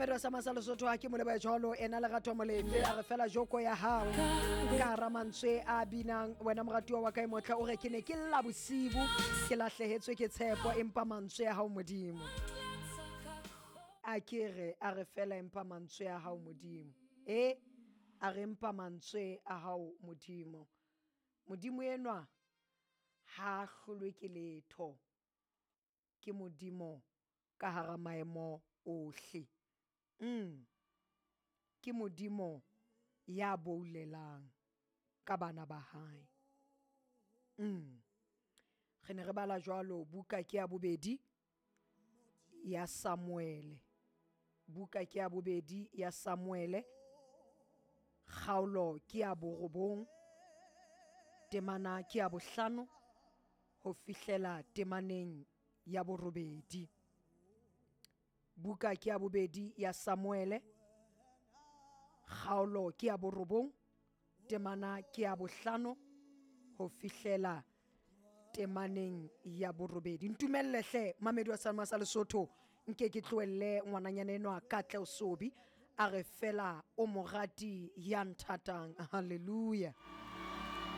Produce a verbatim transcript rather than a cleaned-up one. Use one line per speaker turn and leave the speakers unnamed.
Mamedi wa Sama sa Lesotho ha ke mo lebohe jwalo ena Lerato Molefe a re fela joko ya hao ka hara mantswe a binang wena moratuwa wa ka e motle o re ke ne ke lla bosibu ke lahlehetswe ke tshepo empa mantswe a hao Modimo a ke re a re fela empa mantswe a hao Modimo e a re empa mantswe a hao Modimo Modimo enwa ha a hlolwe ke letho ke Modimo ka hara maemo ohle mm ke Modimo ya boulelang ka bana ba hae mm re ne re bala jwalo buka ke ya bobedi ya Samuele buka ke ya bobedi ya Samuele kgaolo ke ya borobong temana ke ya bohlano ho fihlela temaneng ya borobedi buka ke ya bobedi ya Samuele kgaolo ke ya borobong temana ke ya bohlano ho fihlela temaneng ya borobedi ntumelle hle mamedi wa Sama sa Lesotho nke ke tlohelle ngwananyana enwa Katleho Sobi a re fela o morati ya nthatang hallelujah.